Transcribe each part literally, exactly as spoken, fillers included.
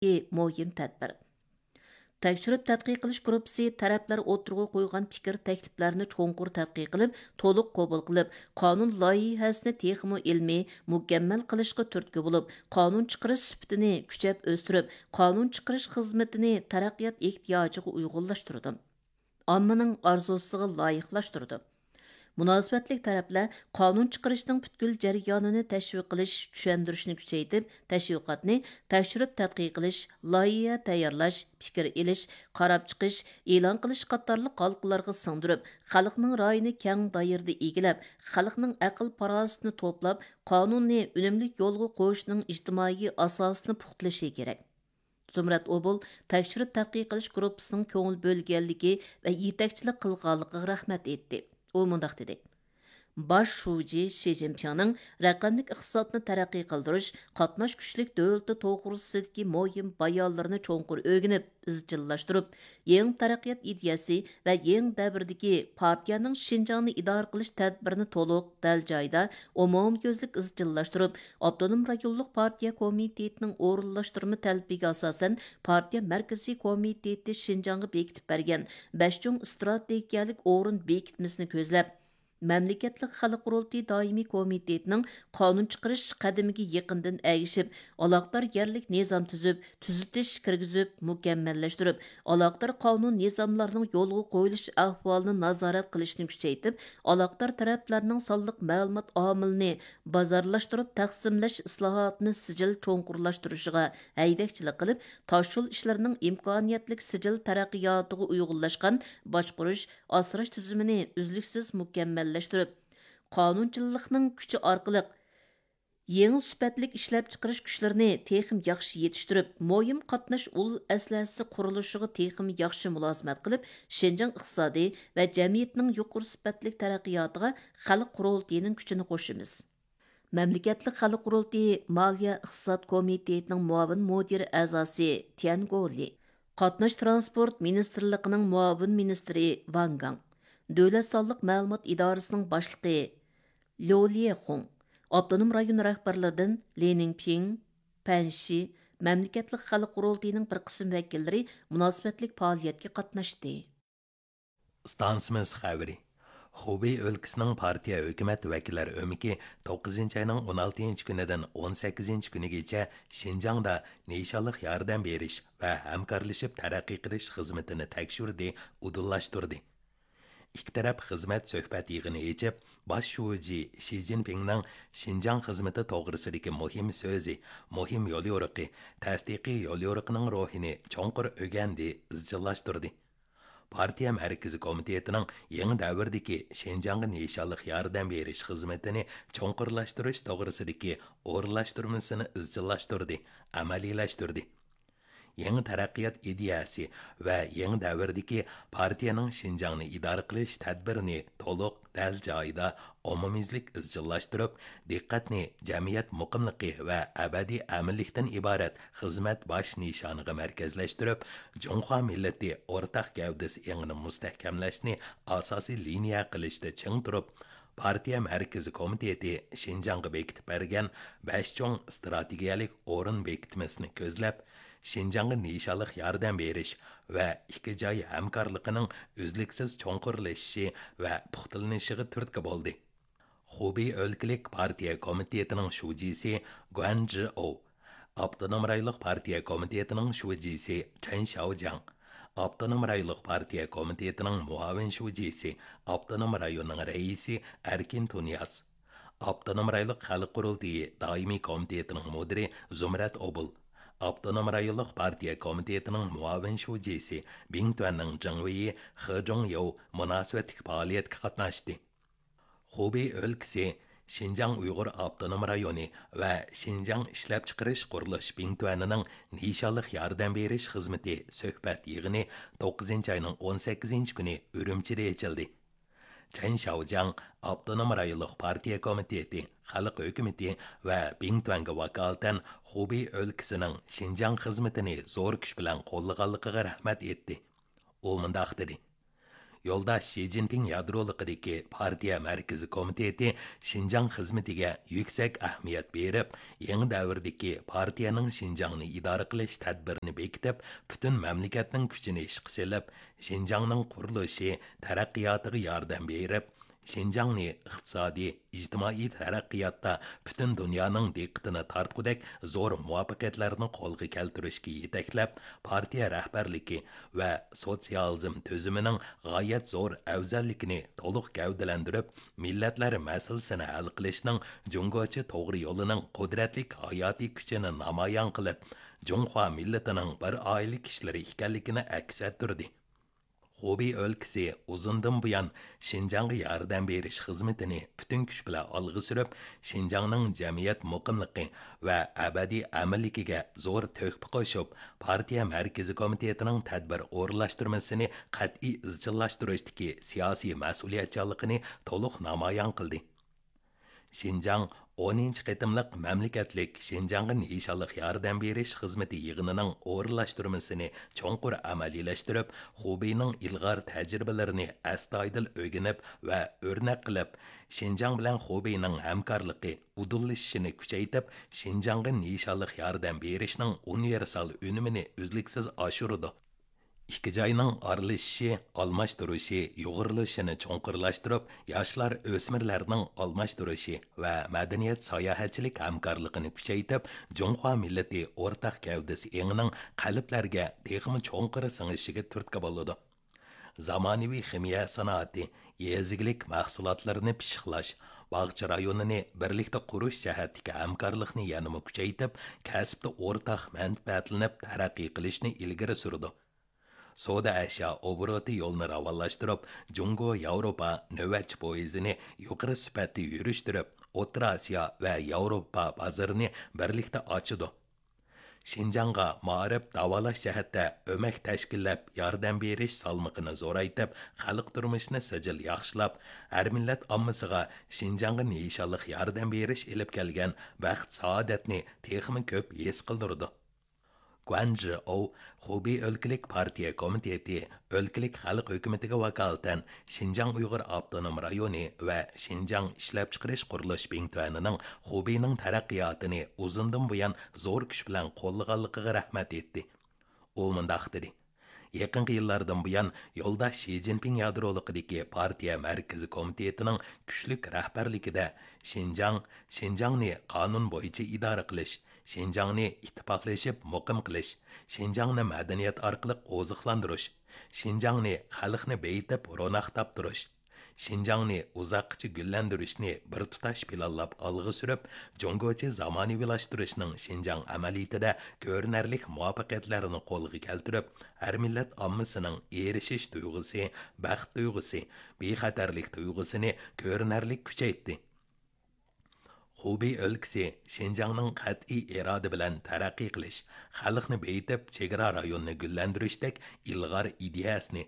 مۇھىم تەدبىر. تەكشۈرۈپ تەتقىق قىلىش گۇرۇپپىسى تەرەپلەر ئوتتۇرىغا قويغان پىكىر تەكلىپلەرنى چوڭقۇر تەتقىق قىلىپ، تولۇق قوبۇل قىلىپ، قانۇن لايىھەسىنى تېخىمۇ ئىلمىي، مۇكەممەل قىلىشقا تۈرتكە بولۇپ، قانۇن چىقىرىش سۈپىتىنى كۈچەپ ئۆستۈرۈپ، قانۇن چىقىرىش خىزمىتىنى تەرەققىيات ئېھتىياجىغا ئۇيغۇنلاشتۇرىدۇ. ئاممىنىڭ ئارزۇسىغا لايىقلاشتۇرىدۇ. مۇناسىۋەتلىك تەرەپلەر قانۇن چىقىرىشنىڭ پۈتكۈل جەريانىنى تەشۋىق قىلىش، چۈشەندۈرۈشنى كۈچەيتىپ، تەشۋىقاتنى تەكشۈرۈپ تەتقىق قىلىش، لايىھە تەييارلاش، پىكىر ئېلىش، قاراپ چىقىش، ئېلان قىلىش قاتارلىق ھالقىلارغا سىڭدۈرۈپ، خەلقنىڭ رايىنى كەڭ دائىرىدە ئىگىلەپ، خەلقنىڭ ئەقىل پاراسىتىنى توپلاپ، قانۇننى ئۈنۈملۈك يولغا قويۇشنىڭ ئىجتىمائىي ئاساسىنى پۇختىلىشى كېرەك. زۇمرەت ئوبۇل تەكشۈرۈپ تەتقىق قىلىش گۇرۇپپىسىنىڭ كۆڭۈل بۆلگەنلىكى ۋە يېتەكچىلىك قىلغانلىقىغا رەھمەت ئېيتتى. ئۇ مۇنداق دېدى: باش شۇجى شى جىنپىڭنىڭ رەقەملىك ئىقتىسادنى تەرەققىي قىلدۇرۇش، قاتناش كۈچلۈك دۆلىتى توغرىسىدىكى مۇھىم بايانلىرىنى چوڭقۇر ئۆگىنىپ، ئىزچىللاشتۇرۇپ، يېڭى تەرەققىيات ئىدىيەسى ۋە يېڭى دەۋردىكى پارتىيەنىڭ شىنجاڭنى ئىدارە قىلىش تەدبىرىنى تولۇق، دەل جايىدا، ئومۇميۈزلۈك ئىزچىللاشتۇرۇپ، ئاپتونوم رايونلۇق پارتىيە كومىتېتىنىڭ ئورۇنلاشتۇرما تەلىپىگە ئاساسەن، پارتىيە مەركىزىي كومىتېتى شىنجاڭغا بېكىتىپ بەرگەن بەش چوڭ ئىستراتېگىيەلىك ئورۇن بېكىتمىسىنى كۆزلەپ، مەملىكەتلىك خەلق قۇرۇلتىيى دائىمىي كومىتېتىنىڭ قانۇن چىقىرىش قەدىمىگە يېقىندىن ئەگىشىپ، ئالاقىدار يەرلىك نىزام تۈزۈپ، تۈزىتىش كىرگۈزۈپ، مۇكەممەللەشتۈرۈپ، ئالاقىدار قانۇن نىزاملارنىڭ يولغا قويۇلۇش ئەھۋالىنى نازارەت قىلىشنى كۈچەيتىپ، ئالاقىدار تەرەپلەرنىڭ سانلىق مەلۇمات ئامىلىنى بازارلاشتۇرۇپ تەقسىملەش ئىسلاھاتىنى سىجىل چوڭقۇرلاشتۇرۇشىغا ھەيدەكچىلىك قىلىپ، تاشيول ئىشلىرىنىڭ ئىمكانىيەتلىك سىجىل تەرەققىياتىغا ئۇيغۇنلاشقان باشقۇرۇش، ئاسراش تۈزۈمىنى ئۈزلۈكسىز مۇكەممەللەشتۈرۈپ، قانۇنچىللىقنىڭ كۈچى ئارقىلىق يېڭى سۈپەتلىك ئىشلەپچىقىرىش كۈچلىرىنى تېخىمۇ ياخشى يېتىشتۈرۈپ، مۇھىم قاتناش ئۇل ئەسلىھەسى قۇرۇلۇشىغا تېخىمۇ ياخشى مۇلازىمەت قىلىپ، شىنجاڭ ئىقتىسادى ۋە جەمئىيىتىنىڭ يۇقىرى سۈپەتلىك تەرەققىياتىغا خەلق قۇرۇلتىيىنىڭ كۈچىنى قوشىمىز. مەملىكەتلىك خەلق قۇرۇلتىيى مالىيە ئىقتىساد كومىتېتىنىڭ مۇئاۋىن مۇدىر ئەزاسى تيەن گولى، قاتناش ترانسپورت مىنىستىرلىقىنىڭ مۇئاۋىن مىنىستىرى ۋاڭ گاڭ، دۆلەت سانلىق مەلۇمات ئىدارىسىنىڭ باشلىقى ليۇ ليېخۇڭ، ئاپتونوم رايون رەھبەرلىرىدىن لى نىڭپىڭ، پەن شى، مەملىكەتلىك خەلق قۇرۇلتىيىنىڭ بىر قىسىم ۋەكىللىرى مۇناسىۋەتلىك پائالىيەتكە قاتناشتى. ئىستانسىمىز خەۋىرى. خۇبېي ئۆلكىسىنىڭ پارتىيە ھۆكۈمەت ۋەكىللەر ئۆمىكى توققۇزىنچى ئاينىڭ ئون ئالتىنچى كۈنىدىن ئون سەككىزىنچى كۈنىگىچە شىنجاڭدا نىشانلىق ياردەم بېرىش ۋە ھەمكارلىشىپ تەرەققىي قىلىش خىزمىتىنى تەكشۈردى، ئۇدۇللاشتۇردى. ئىككى تەرەپ خىزمەت سۆھبەت يىغىنى ئېچىپ، باش شۇجى شى جىنپىڭنىڭ شىنجاڭ خىزمىتى توغرىسىدىكى مۇھىم سۆزى، مۇھىم يوليورۇقى، تەستىقىي يوليورۇقىنىڭ روھىنى چوڭقۇر ئۆگەندى، ئىزچىللاشتۇردى. پارتىيە مەركىزىي كومىتېتىنىڭ يېڭى دەۋردىكى شىنجاڭغا نىشانلىق ياردەم بېرىش خىزمىتىنى چوڭقۇرلاشتۇرۇش توغرىسىدىكى ئورۇنلاشتۇرمىسىنى ئىزچىللاشتۇردى، ئەمەلىيلەشتۈردى. يېڭى تەرەققىيات ئىدىيەسى ۋە يېڭى دەۋردىكى پارتىيەنىڭ شىنجاڭنى ئىدارە قىلىش تەدبىرىنى تولۇق، دەل جايىدا، ئومۇميۈزلۈك ئىزچىللاشتۇرۇپ، دىققەتنى جەمئىيەت مۇقىملىقى ۋە ئەبەدىي ئەمىنلىكتىن ئىبارەت خىزمەت باش نىشانىغا مەركەزلەشتۈرۈپ، جۇڭخۇا مىللىتى ئورتاق گەۋدىسى ئېڭىنى مۇستەھكەملەشنى ئاساسىي لىنىيە قىلىشتا چىڭ تۇرۇپ، پارتىيە مەركىزىي كومىتېتى شىنجاڭغا بېكىتىپ بەرگەن بەش چوڭ ئىستراتېگىيەلىك ئورۇن بېكىتمىسىنى كۆزلەپ، شىنجاڭغا نىشانلىق ياردەم بېرىش ۋە ئىككى جاي ھەمكارلىقىنىڭ ئۈزلۈكسىز چوڭقۇرلىشىشى ۋە پۇختىلىنىشىغا تۈرتكە بولدى. خۇبېي ئۆلكىلىك پارتىيە كومىتېتىنىڭ شۇجىسى گۇەن جىئو، ئاپتونوم رايونلۇق پارتىيە كومىتېتىنىڭ شۇجىسى چېن شياۋجياڭ، ئاپتونوم رايونلۇق پارتىيە كومىتېتىنىڭ مۇئاۋىن شۇجىسى، ئاپتونوم رايوننىڭ رەئىسى ئەركىن تۇنىياز، ئاپتونوم رايونلۇق خەلق قۇرۇلتىيى دائىمىي كومىتېتىنىڭ مۇدىرى زۇمرەت ئوبۇل، ئاپتونوم رايونلۇق پارتىيە كومىتېتىنىڭ مۇئاۋىن شۇجىسى بىڭتۈەننىڭ جېڭۋېيى خې جۇڭيېۋ مۇناسىۋەتلىك پائالىيەتكە قاتناشتى. خۇبېي ئۆلكىسى شىنجاڭ ئۇيغۇر ئاپتونوم رايونى ۋە شىنجاڭ ئىشلەپچىقىرىش قۇرۇلۇش بىڭتۈەنىنىڭ نىشانلىق ياردەم بېرىش خىزمىتى سۆھبەت يىغىنى توققۇزىنچى ئاينىڭ ئون سەككىزىنچى كۈنى ئۈرۈمچىدە ئېچىلدى. چېن شياۋجياڭ ئاپتونوم رايونلۇق پارتىيە كومىتېتى، خەلق ھۆكۈمىتى ۋە بىڭتۈەنگە ۋاكالىتەن خۇبېي ئۆلكىسىنىڭ شىنجاڭ خىزمىتىنى زور كۈچ بىلەن قوللىغانلىقىغا رەھمەت ئېيتتى. ئۇ مۇنداق دېدى: يولداش شى جىنپىڭ يادرولۇقىدىكى پارتىيە مەركىزىي كومىتېتى شىنجاڭ خىزمىتىگە يۈكسەك ئەھمىيەت بېرىپ، يېڭى دەۋردىكى پارتىيەنىڭ شىنجاڭنى ئىدارە قىلىش تەدبىرىنى بېكىتىپ، پۈتۈن مەملىكەتنىڭ كۈچىنى ئىشقا سېلىپ، شىنجاڭنىڭ قۇرۇلۇشى، تەرەققىياتىغا ياردەم بېرىپ، شىنجاڭنى ئىقتىسادىي، ئىجتىمائىي تەرەققىياتتا پۈتۈن دۇنيانىڭ دىققىتىنى تارتقۇدەك زور مۇۋەپپەقىيەتلەرنى قولغا كەلتۈرۈشكە يېتەكلەپ، پارتىيە رەھبەرلىكى ۋە سوتسىيالىزم تۈزۈمىنىڭ غايەت زور ئەۋزەللىكىنى تولۇق گەۋدىلەندۈرۈپ، مىللەتلەر مەسىلىسىنى ھەل قىلىشنىڭ جۇڭگوچە توغرا يولىنىڭ قۇدرەتلىك ھاياتىي كۈچىنى نامايان قىلىپ، جۇڭخۇا مىللىتىنىڭ بىر ئائىلە كىشىلىرى ئىكەنلىكىنى ئەكس ئەتتۈردى. خۇبېي ئۆلكىسى ئۇزۇندىن بۇيان شىنجاڭغا ياردەم بېرىش خىزمىتىنى پۈتۈن كۈچ بىلەن ئالغا سۈرۈپ، شىنجاڭنىڭ جەمئىيەت مۇقىملىقى ۋە ئەبەدىي ئەمىنلىكىگە زور تۆھپە قوشۇپ، پارتىيە مەركىزىي كومىتېتىنىڭ تەدبىر ئورۇنلاشتۇرمىسىنى قەتئىي ئىزچىللاشتۇرۇشتىكى سىياسىي مەسئۇلىيەتچانلىقىنى تولۇق نامايان قىلدى. شىنجاڭ ئونىنچى قېتىملىق مەملىكەتلىك شىنجاڭغا نىشانلىق ياردەم بېرىش خىزمىتى يىغىنىنىڭ ئورۇنلاشتۇرمىسىنى چوڭقۇر ئەمەلىيلەشتۈرۈپ، خۇبېينىڭ ئىلغار تەجرىبىلىرىنى ئەستايىدىل ئۆگىنىپ ۋە ئۆرنەك قىلىپ، شىنجاڭ بىلەن خۇبېينىڭ ھەمكارلىقى ئۇدۇللىشىشىنى كۈچەيتىپ، شىنجاڭغا نىشانلىق ياردەم بېرىشنىڭ ئۇنىۋېرسال ئۈنۈمىنى ئۈزلۈكسىز ئاشۇرىدۇ. ئىككى جاينىڭ ئارىلىشىشى، ئالماشتۇرۇشى، يۇغۇرۇلۇشىنى چوڭقۇرلاشتۇرۇپ، ياشلار، ئۆسمۈرلەرنىڭ ئالماشتۇرۇشى ۋە مەدەنىيەت، ساياھەتچىلىك ھەمكارلىقىنى كۈچەيتىپ، جۇڭخۇا مىللىتى ئورتاق گەۋدىسى ئېڭىنىڭ قەلبلەرگە تېخىمۇ چوڭقۇر سىڭىشىگە تۈرتكە بولىدۇ. زامانىۋى خىمىيە سانائىتى، يېزا ئىگىلىك مەھسۇلاتلىرىنى پىششىقلاش، باغچە رايونىنى بىرلىكتە قۇرۇش جەھەتتىكى ھەمكارلىقنى يەنىمۇ كۈچەيتىپ، كەسىپتە ئورتاق مەنپەئەتلىنىپ تەرەققىي قىلىشنى ئىلگىرى سۈرىدۇ. سودا ئەشيا ئوبوروتى يولىنى راۋانلاشتۇرۇپ، جۇڭگو ياۋروپا نۆۋەتچى پويىزىنى يۇقىرى سۈپەتتە يۈرۈشتۈرۈپ، ئوتتۇرا ئاسىيا ۋە ياۋروپا بازىرىنى بىرلىكتە ئاچىدۇ. شىنجاڭغا مائارىپ، داۋالاش جەھەتتە ئۆمەك تەشكىللەپ، ياردەم بېرىش سالمىقىنى زورايتىپ، خەلق تۇرمۇشىنى سىجىل ياخشىلاپ، ھەر مىللەت ئاممىسىغا شىنجاڭغا نىشانلىق ياردەم بېرىش ئېلىپ كەلگەن بەخت-سائادەتنى تېخىمۇ كۆپ ھېس قىلدۇرىدۇ. گۇەن جىئو خۇبېي ئۆلكىلىك پارتىيە كومىتېتى ئۆلكىلىك خەلق ھۆكۈمىتىگە ۋاكالىتەن شىنجاڭ ئۇيغۇر ئاپتونوم رايونى ۋە شىنجاڭ ئىشلەپچىقىرىش قۇرۇلۇش بىڭتۈەنىنىڭ خۇبېينىڭ تەرەققىياتىنى ئۇزۇندىن بۇيان زور كۈچ بىلەن قوللىغانلىقىغا رەھمەت ئېيتتى. ئۇ مۇنداق دېدى: يېقىنقى يىللاردىن بۇيان يولداش شى جىنپىڭ يادرولۇقىدىكى پارتىيە مەركىزىي كومىتېتىنىڭ كۈچلۈك رەھبەرلىكىدە شىنجاڭ، شىنجاڭنى قانۇن بويىچە ئىدارە قىلىش، شىنجاڭنى ئىتتىپاقلىشىپ مۇقىم قىلىش، شىنجاڭنى مەدەنىيەت ئارقىلىق ئوزۇقلاندۇرۇش، شىنجاڭنى خەلقنى بېيىتىپ روناق تاپتۇرۇش، شىنجاڭنى ئۇزاققىچە گۈللەندۈرۈشنى بىر تۇتاش پىلانلاپ ئالغا سۈرۈپ، جۇڭگوچە زامانىۋىلاشتۇرۇشنىڭ شىنجاڭ ئەمەلىيىتىدە كۆرۈنەرلىك مۇۋەپپەقىيەتلەرنى قولغا كەلتۈرۈپ، ھەر مىللەت ئاممىسىنىڭ ئېرىشىش تۇيغۇسى، بەخت تۇيغۇسى، بىخەتەرلىك تۇيغۇسىنى كۆرۈنەرلىك كۈچەيتتى. خۇبېي ئۆلكىسى شىنجاڭنىڭ قەتئىي ئىرادە بىلەن تەرەققىي قىلىش، خەلقنى بېيىتىپ، چېگرا رايونىنى گۈللەندۈرۈشتەك ئىلغار ئىدىيەسىنى،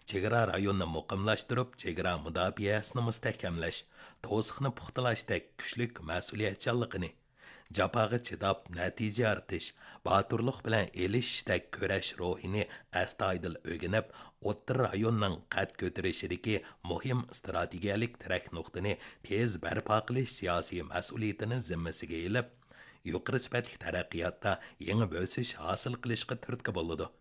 چېگرا رايونىنى مۇقىملاشتۇرۇپ، چېگرا مۇداپىئەسىنى مۇستەھكەملەش، توسۇقنى پۇختىلاشتەك كۈچلۈك مەسئۇلىيەتچانلىقىنى، جاپاغا چىداپ نەتىجە يارىتىش، باتۇرلۇق بىلەن ئېلىشىشتەك كۈرەش روھىنى ئەستايىدىل ئۆگىنىپ، ئوتتۇرا رايوننىڭ قەد كۆتۈرۈشىدىكى مۇھىم ئىستراتېگىيەلىك تىرەك نۇقتىنى تېز بەرپا قىلىش سىياسىي مەسئۇلىيىتىنى زىممىسىگە ئېلىپ، يۇقىرى سۈپەتلىك تەرەققىياتتا يېڭى بۆسۈش ھاسىل قىلىشقا تۈرتكە بولىدۇ.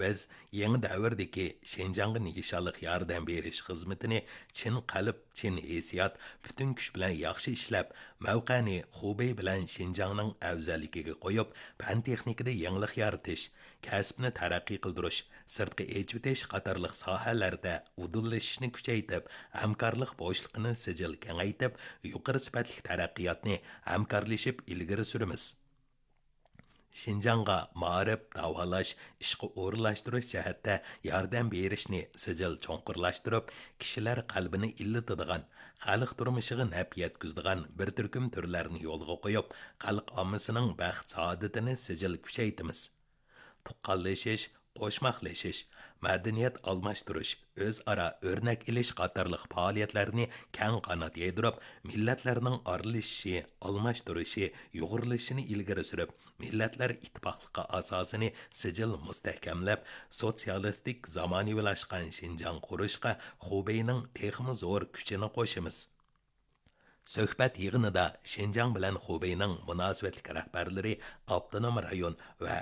بىز يېڭى دەۋردىكى شىنجاڭغا نىشانلىق ياردەم بېرىش خىزمىتىنى چىن قەلب، چىن ھېسسىيات، پۈتۈن كۈچ بىلەن ياخشى ئىشلەپ، مەۋقەنى خۇبېي بىلەن شىنجاڭنىڭ ئەۋزەللىكىگە قويۇپ، پەن تېخنىكىدا يېڭىلىق يارىتىش، كەسىپنى تەرەققىي قىلدۇرۇش، سىرتقا ئېچىۋېتىش قاتارلىق ساھەلەردە ئۇدۇللىشىشنى كۈچەيتىپ، ھەمكارلىق بوشلۇقىنى سىجىل كېڭەيتىپ، يۇقىرى سۈپەتلىك تەرەققىياتنى ھەمكارلىشىپ ئىلگىرى سۈرىمىز. شىنجاڭغا مائارىپ، داۋالاش، ئىشقا ئورۇنلاشتۇرۇش جەھەتتە ياردەم بېرىشنى سىجىل چوڭقۇرلاشتۇرۇپ، كىشىلەر قەلبىنى ئىللىتىدىغان، خەلق تۇرمۇشىغا نەپ يەتكۈزىدىغان بىر تۈركۈم تۈرلەرنى يولغا قويۇپ، خەلق ئاممىسىنىڭ بەخت-سائادىتىنى سىجىل كۈچەيتىمىز. تۇغقانلىشىش، قوشماقلىشىش، مەدەنىيەت ئالماشتۇرۇش، ئۆزئارا ئۆرنەك ئېلىش قاتارلىق پائالىيەتلەرنى كەڭ قانات يايدۇرۇپ، مىللەتلەرنىڭ ئارىلىشىشى، ئالماشتۇرۇشى، يۇغۇرۇلۇشىنى ئىلگىرى سۈرۈپ، مىللەتلەر ئىتتىپاقلىقى ئاساسىنى سىجىل مۇستەھكەملەپ، سوتسىيالىستىك زامانىۋىلاشقان شىنجاڭ قۇرۇشقا خۇبېينىڭ تېخىمۇ زور كۈچىنى قوشىمىز. سۆھبەت يىغىنىدا شىنجاڭ بىلەن خۇبېينىڭ مۇناسىۋەتلىك رەھبەرلىرى ئاپتونوم رايون ۋە